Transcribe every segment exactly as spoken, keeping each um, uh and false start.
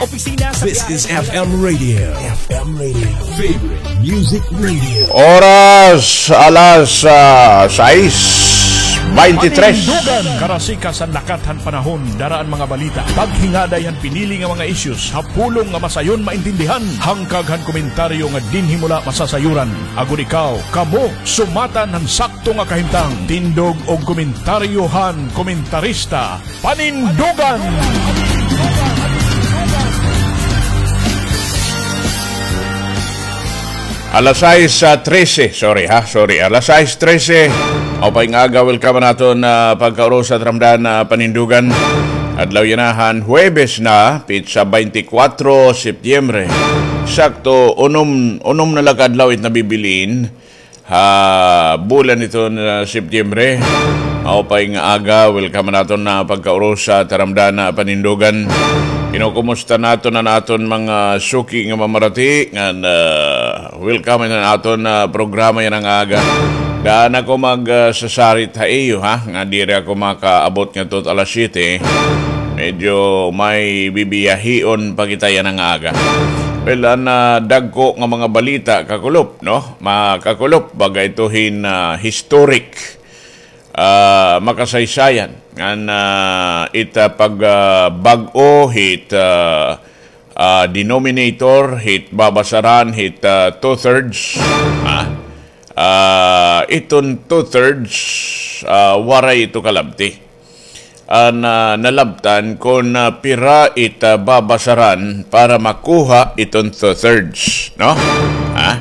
Opisina sa This is F M Radio. F M Radio. Favorite Music Radio. Oras, alas, ah, sais baynte tres. Panindugan. Karasika san lakat han panahon, dara an mga balita. Paghingaday han pinili nga mga issues ha pulong nga masayon maintindihan. Hangkag han komentaryo nga dinhi mo la masasayuran. Agod ikaw, kamo, sumatan han sakto nga kahimtang. Tindog og komentaryo han komentarista. Panindugan! Alas sais, ah, trese, sorry ha, sorry, alas sais trese. Maupay nga aga, welcome han aton, ah, pagkaurusa taramdan, ah, Panindugan. Adlaw yana han Huwebes na, petsa baynte kwatro Setyembre. Sakto, unom, unom na la ka adlaw it nabibilin ha bulan iton, ah, Setyembre. Maupay nga aga, welcome han aton, ah, pagkaurusa taramdan, ah, Panindugan. Kinukumusta naton an aton mga suki nga mamarati ngan, ah, welcome han aton, ah, programa yana nga aga. Daan ako mag, ah, sasarit ha iyo, ha, nga diri ako makaabot ngadto alas siyete. Medyo may bibiyahion pa kita yana nga aga. Well, an, ah, dagko nga mga balita, kakulop, no? Makakulop, baga ito hin, ah, historic, ah, makasaysayan. Ngan, ah, it, ah, pag, ah, bag-o hit, ah, ah, denominator, hit babasaran, hit, ah, two-thirds, ah, ah, iton two-thirds, ah, waray ito kalabti. An, ah, nalabtan kon, ah, pira it, ah, babasaran para makuha iton two-thirds, no? Ha?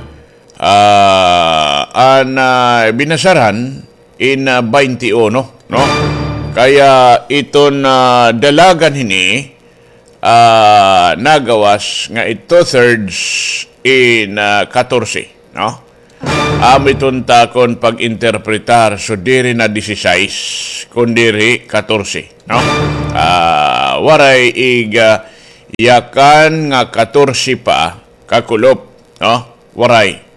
Ah, an, ah, binasaran in, ah, baynte uno, no? Kaya iton, ah, dalagan hini, ah, nagawas nga it two-thirds in, ah, katorse, no? Amo iton takon pag-interpretar, so diri na disisais, kun diri katorse, no? Ah, waray ig, ah, yakan nga katorse pa, kakulop, no? Waray.